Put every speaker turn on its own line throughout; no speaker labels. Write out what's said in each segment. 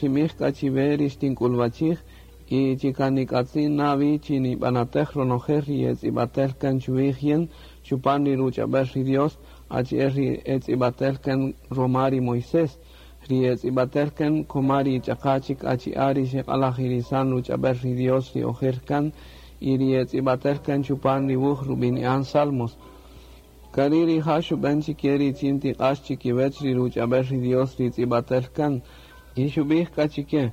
xinbij k'a chiwe ri xtink'ulwachij y chi kan nik'atzin na wi chi nibanatej ronojel ri etz'ib'atel kan chuwij yin chupan ri ruch'ab'el ri Dios, achi'el ri etz'ib'atel kan roma ri Moisés, ri etz'ib'atel kan koma ri ch'aqa chik achi'a' ri xeq'alajirisan ruch'ab'el ri Dios ri ojer kan y ri etz'ib'atel kan chupan ri wuj rub'ini'an Salmos. K'ari' rija' xub'en chike richin tiq'ax chikiwech ri ruch'ab'el ri Dios ri tz'ib'atel kan y xub'ij k'a chike: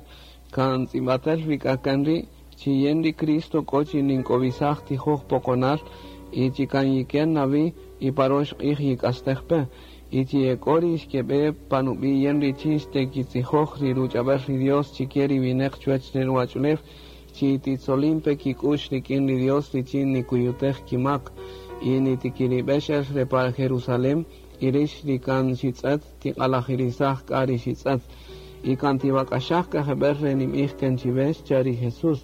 Kan tz'ib'atel wi k'a kan ri' chi yin ri Cristo k'o chi nink'owisaj tijoj poqonal y chi kan yiken na wi y pa rox q'ij yik'astej pe, y chi e k'o ri xkeb'e pa nub'i' yin richin xtekitzijoj ri ruch'ab'el ri Dios chike ri wineq chuwech re ruwach'ulew chi titzolin pe kik'u'x rik'in ri Dios richin nikuyutej kimak y nitikirib'ex el re pa Jerusalén y rix ri kan xitz'et tiq'alajirisaj k'a ri xitz'et y kan tiwak'axaj k'a jeb'ël re ninb'ij kan chiwe, xcha' ri Jesús.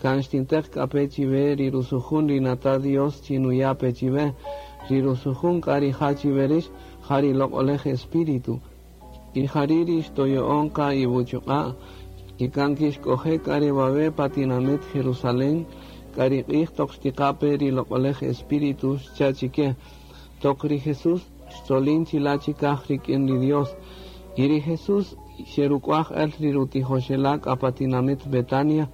Kan xtinteq k'a pe chiwe ri rusujun ri Nata' Dios chi nuya' pe chiwe. Ri rusujun k'a rija' chiwe rix, ja ri Loq'olej Espíritu. Y jari' ri xtoyo'on qa iwuchuq'a', y kan kixk'oje' k'a re wawe' pa tinamit Jerusalén, k'a ri q'ij toq xtiqa-pe ri Loq'olej Espíritu, xcha' chike. Toq ri Jesús xtzolin chila' chikaj rik'in ri Dios. Y ri Jesús xeruk'uaj-el ri rutijoxela' k'a pa tinamit Betania,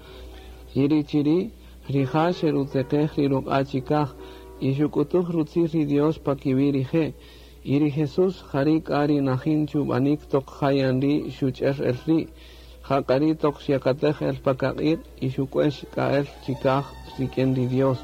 y ri chiri' rija' xerutzeqej ri ruq'a' chikaj, y xuk'utuj rutzil ri Dios pa kiwi' rije'. Y ri Jesús jari' k'a ri najin chub'anik toq ja yan ri' xuch'er el ri', ja k'a ri' toq xyakatej el pa kaq'iq' y xuk'uex k'a el chikaj rik'in ri Dios.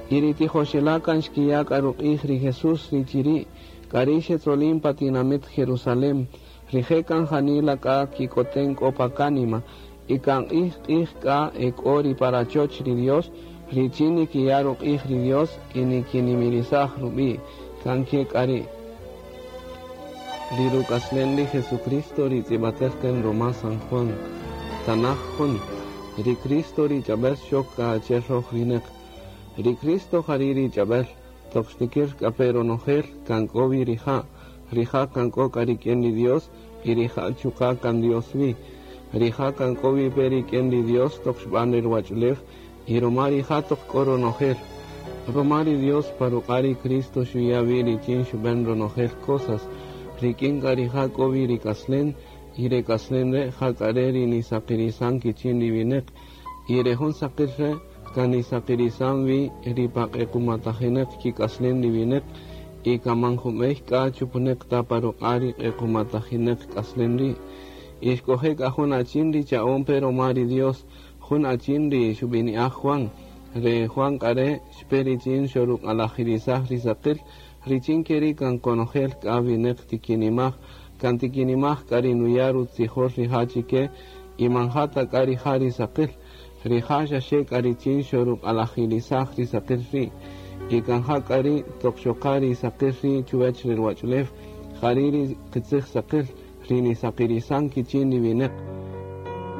Y ri tijoxela' kan xkiya' k'a ruq'ij ri Jesús ri chiri', k'ari' xetzolin pa tinamit Jerusalén. Rije' kan janila k'a kikoten k'o pa kánima, y kan q'ij-q'ij k'a ek'o ri pa rachoch ri Dios, richin nikiya' ruq'ij ri Dios y nikinimirisaj rub'i'. Kan ke k'a ri'. Ri ruk'aslen ri Jesucristo ri tz'ib'atel kan roma San Juan. Tanaj jun. Ri Cristo ri ch'ab'el xok k'a achi'el roj wineq. Ri Cristo jari' ri ch'ab'el, toq xtikir k'a pe ronojel, kan k'o wi rija'. Rija' kan k'o k'a rik'in ri Dios y rija' chuqa' kan Dios wi. Rija' kan k'o wi pe rik'in ri Dios toq xb'an ri ruwach'ulew y roma rija' toq k'o ronojel. Roma ri Dios pa ruq'a' ri Cristo xuya' wi richin xub'en ronojel cosas, rik'in k'a rija' k'o wi ri k'aslen, y re k'aslen re' ja k'a re' ri nisaqirisan kichin ri wineq, y re jun saqil re' kan nisaqirisan wi ri pa q'equmatajineq kik'aslen ri wineq, y kan man jun b'ey k'a chupuneq ta pa ruq'a' ri q'equmatajineq k'aslen ri'. Y xk'oje' k'a jun achin ri cha'on pe roma ri Dios, jun achin ri xub'ini'aj Juan. Re Juan k'a re' xpe richin xoruq'alajirisaj ri saqil, richin keri' kan konojel k'a wineq tikinimaj, kan tikinimaj k'a ri nuya' rutzijol rija' chike, y man ja ta k'a rija' ri saqil. Rija' xaxe k'a richin xoruq'alajirisaj ri saqil ri', y kan ja k'a ri' toq xoqa ri saqil ri' chuwech re ruwach'ulew, jari' ri qitzij saqil, ri nisaqirisan kichin ri wineq.